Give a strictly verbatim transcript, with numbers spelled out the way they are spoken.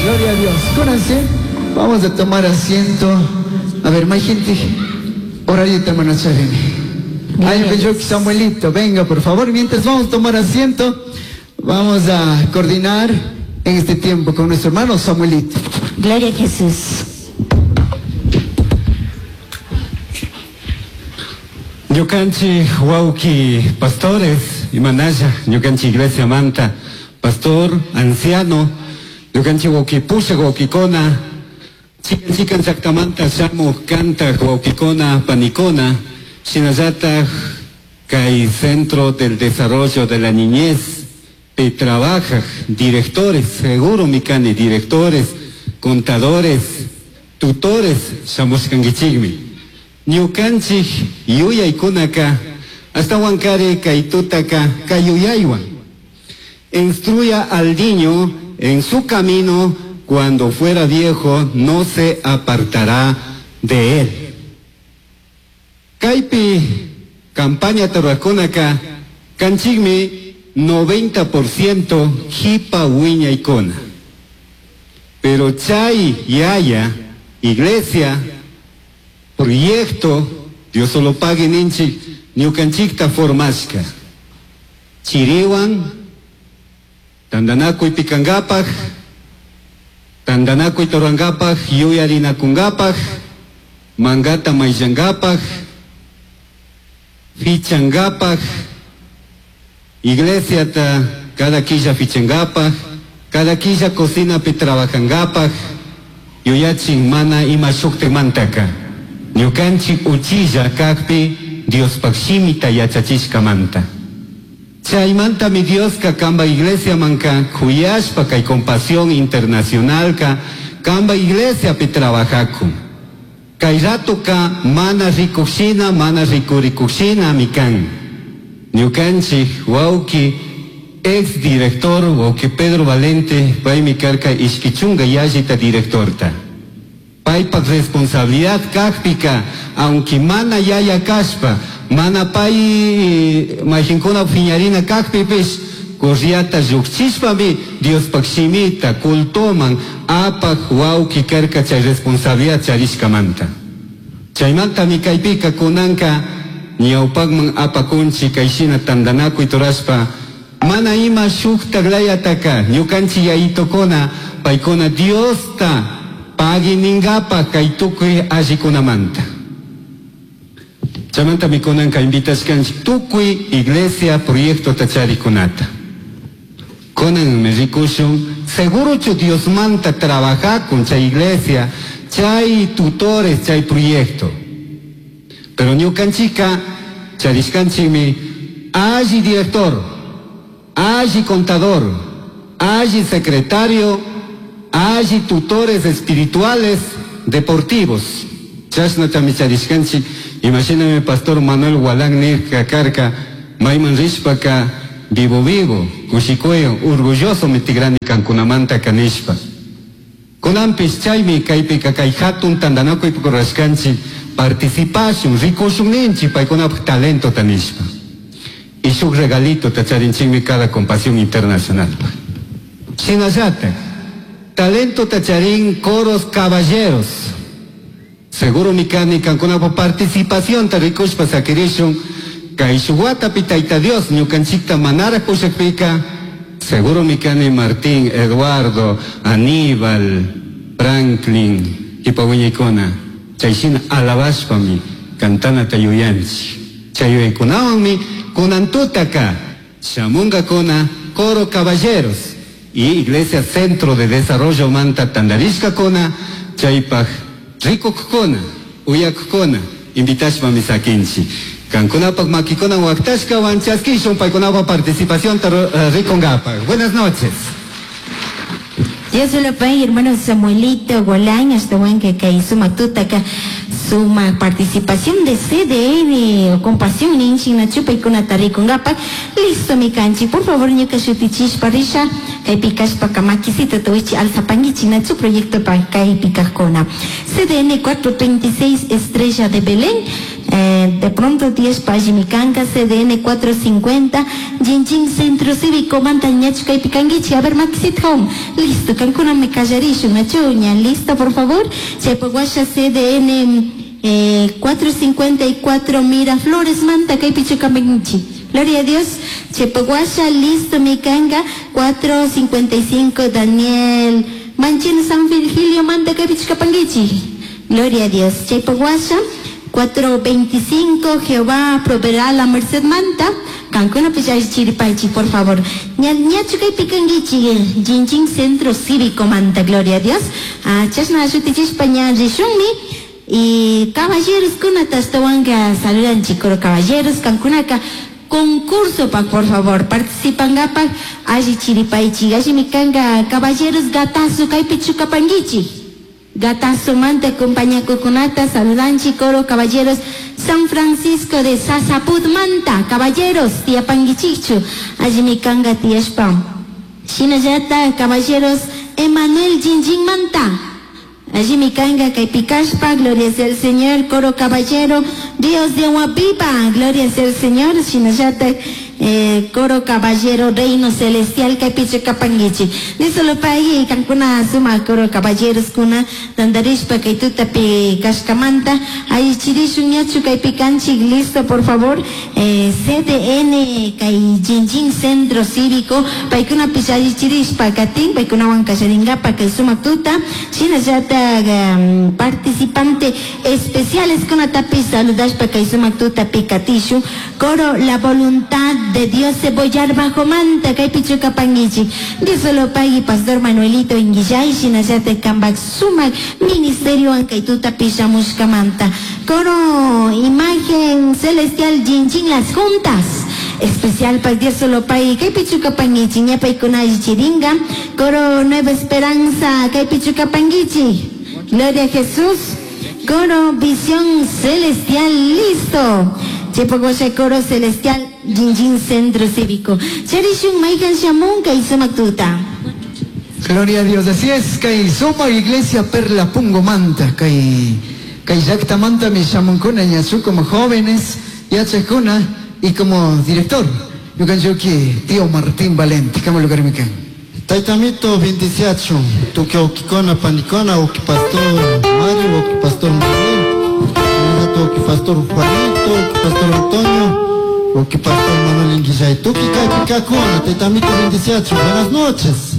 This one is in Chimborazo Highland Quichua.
Gloria a Dios. Cúnanse. Vamos a tomar asiento. A ver, más gente. Horario hermano Chavini. Ay, Samuelito, venga por favor. Mientras vamos a tomar asiento, vamos a coordinar en este tiempo con nuestro hermano Samuelito. Gloria a Jesús. Ñukanchik wawki pastores imanalla ñukanchik iglesia manta pastor anciano ñukanchik wawki pushak wawkikuna chikan chikan llaktamanta shamuj kantak wawkikuna panikuna shinallataj kay Centro del Desarrollo de la Niñez pi trabajaj directores, seguro mikani directores, contadores, tutores shamushkankichikmi. Ñukanchik yuyaykunaka ashtawankari kay tutaka kay yuyaywan. Instruya al niño en su camino, cuando fuera viejo no se apartará de él. Kaypi campaña tarwakunaka kanchikmi noventa por ciento jipa wiñaykuna. Pero chay yaya iglesia proyecto Dios solo pague ninchik ñukanchikta formashka. Chiriwan tandanakuy pikangapak, tandanakuy torangapak, yuyarinakungapak, mangata mayllangapak, fichangapak, iglesiata cada quilla fichangapak, cada quilla cocinapi trabajangapak, yuyachin mana ima shuktikmantaka. Ñukanchik uchilla kakpi Diospaj shimita yachachishkamanta. Chaymantami Dioska kamba iglesia manka kuyashpa kay Compasión Internacionalka kamba iglesiapi trabajakun. Kay ratuka mana rikushina, mana rikurikushina mikan. Ñukanchik wawki ex director wawki Pedro Valente paymi karka ishkichunga yallita directorta. Paypak responsabilidad kakpika, aunque mana yaya kashpa, mana pay majinkuna fiñarina kakpipish, corriata llukchishpami Diospaj shimita cultoman apaj wawki karka chay responsabilidad charishkamanta. Chaymantami kaypika kunanka ñawpakman apakunchi kayshina tandanakuy turashpa, mana ima shuktaklayataka ñukanchik yayitokuna paykuna Diosta paginingapa kay tukuy allikunamanta. Chaymantami kunanka invitashkanchik tukuy iglesia proyecto tacharikunata. Kunan rikushun segurochu Diosmanta trabajakun chay iglesia, chay tutores, chay proyecto. Pero ñukanchika charishkanchikmi alli director, alli contador, alli secretario, alli tutores espirituales deportivos. Chashnatami charishkanchik. Imagíname pastor Manuel Gualán nirka karka mayman rishpaka vivo vivo, kushikuyo, orgulloso mitigrani kankunamanta kanishpa. Kunanpis chaymi kaypika kay hatun tandanakuy rurashkanchik participashun, rikushun ninchik paykunapaj talento tanishpa. Y shuk regalito tacharinchikmi cada Compasión Internacional. Shinallatak, talento tacharín coros caballeros. Seguro mikani kankunapaj participación ta rikushpa sakirishun kay shuwatapi tayta Dios ñukanchikta manara pushakpika. Seguro mikani Martín, Eduardo, Aníbal, Franklin, kipawiñaykuna chayshina alabashpami kantanata yuyanchik. Chay yuyaykunawanmi kunantutaka shamunkakuna coro caballeros y Iglesia Centro de Desarrollo manta tandarishkakuna chaypaj rikukkuna, uyakkuna invitashpami sakinchik. Kankunapaj makikuna waktashkawan chaskishun paykunapaj participación rikunkapaj. Buenas noches. Dios lo pague, hermano Samuelito Gualán, hasta buen que kay suma tutaka suma participación de C D N o Compasión ninchi na chupa y kuna tarikungapa. Listo mi canchi, por favor ñuka shutichish parisha kay pikashpa kamakisita tuichi alzapangichi na chu proyecto pa kay pikajkuna. C D N cuatro treinta y seis Estrella de Belén, Eh, de pronto diez pajimicanca C D N cuatro cincuenta Jinjin Centro Cívico manta ñachu kaypi kankichik. A ver, Maxit Home, listo, kankuna me callarishun, nachu, ña, listo, por favor. Chaypaguasha C D N, eh, cuatro cincuenta y cuatro Miraflores manta kaypi chukamankichik. Gloria a Dios. Chepaguasha, listo, mi canga, cuatro cincuenta y cinco Daniel Manchino San Virgilio manta kaypi chukapankichik. Gloria a Dios. Chepaguasha, cuatro veinticinco Jehová proveerá la merced manta. Cancuna pichay chiripaichi, por favor. Ña, ña chukay picanguichi, Jinjin Centro Cívico manta, gloria a Dios. Ah, chasna shutichishpa ña rishunmi. Y caballeros kuna tastawanga saludan chicoro caballeros cancunaka concurso pa, por favor, participan gapa alli chiripaichi, alli mikanga caballeros gatazo kaypi chukapanguichi. Gatazo manta compañía cucunata, saludan coro caballeros San Francisco de Sasaput manta, caballeros, tía panguichichu, allí mi canga tía spam. Shinayata, caballeros, Emanuel Jinjin manta. Allí mi canga caipicaspa, gloria sea al Señor, coro caballero, Dios de agua viva, gloria sea al Señor, Shinayata, eh, coro caballero, reino celestial, caipicho capanguichi. De solo pague, cancuna suma, coro caballeros, cuna, dandarishpa, caituta, pi, cascamanta, ahí chirishu, ñachu, caipicanchi, listo, por favor, eh, C D N, cai, Jinjin Centro Cívico, paicuna pichayi chirishpa, catín, paicuna huancacharingapa, cai suma tuta, shinayata, um, participante especiales, cuna tapi, saludashpa, cai suma tuta, picatishu, coro, la voluntad de Dios cebollar bajo manta, kaypi chukapangichik. Dios solo pagui, Pastor Manuelito Inguillay, shinallate kambak sumak, ministerio ankaytuta pishamushkamanta. Coro, imagen celestial, jinjin las juntas. Especial pa Dios solo pagui, kaypi chukapangichik, ñapaykunayi chiringa. Coro, Nueva Esperanza, kaypi chukapangichik. Gloria a Jesús. Coro, visión celestial, listo. Chepogosha coro celestial, Jinjin Centro Cívico. Charishun Maikan Shamun, Kaisuma Tuta. Gloria a Dios, así es, Kaisuma Iglesia Perla Pungo Manta, Kai, Kai Yakta Manta, mi Shamunkuna, Ñachu como jóvenes, Yachakuna, y como director, Yukanchuki, tío Martín Valente, ¿cómo lugar me caen? Taitamito bendiciacho, tu que okikona panicona, oki pastor Mario, oki pastor Miguel, oki pastor Juanito, oki pastor Antonio, oki pastor Manuel Inguillay, tuki kakikakuna, taitamito bendiciacho, buenas noches.